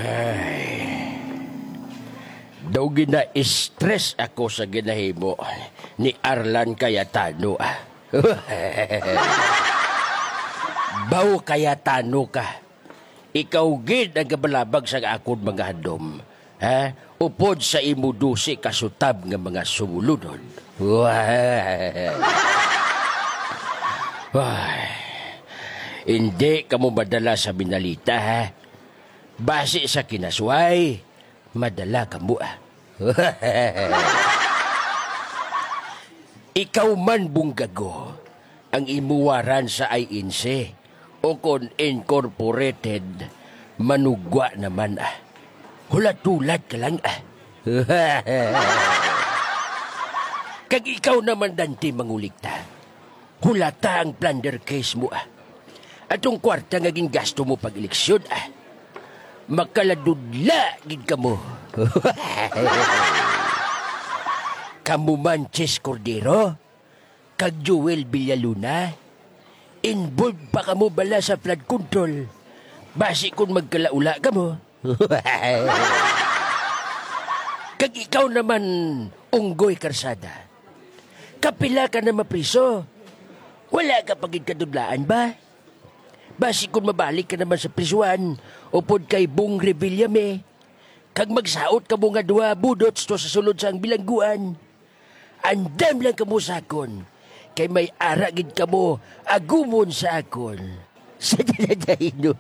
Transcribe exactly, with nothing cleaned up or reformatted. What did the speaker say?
Ay. Daw gina-stress ako sa ginahimo ni Arlan Cayetano, ah. Baw Cayetano ka. Ikaw gid ang gabalabag sa akon mga handom, ha? Upod sa imo dose ka sutab nga mga sumulunod. Wah. Wah. Hindi kamo madala sa Minalita, ha? Basi sa kinasway, madala kamo, ah. Ikaw man, Bunggago, ang imo waran sa I N C o kon incorporated, manugwa naman, ah. Hulat-hulat ka lang, ah. Kag ikaw naman, Dante Mangulikta, hulata ang plunder case mo, ah. Atong kwarta nga gingasto mo pag-eleksyon, ah. Makaladudla gid kamo. Kamo man, Chis Cordero, kag Joel Villaluna, involved pa kamo bala sa flood control? Basi kung magkalaula kamo. Kag ikaw naman, Unggoy Karsada, kapila ka na mapriso? Wala ka pa gid kadudlaan ba? Basi kung mabalik ka naman sa prisuhan upod kay Bong Revillame, kag magsaot kamo nga duha budots to sa sulod sang bilangguan. Andam lang kamo sa akon, kay may ara gid kamo agumon sa akon. Sa Daladayno.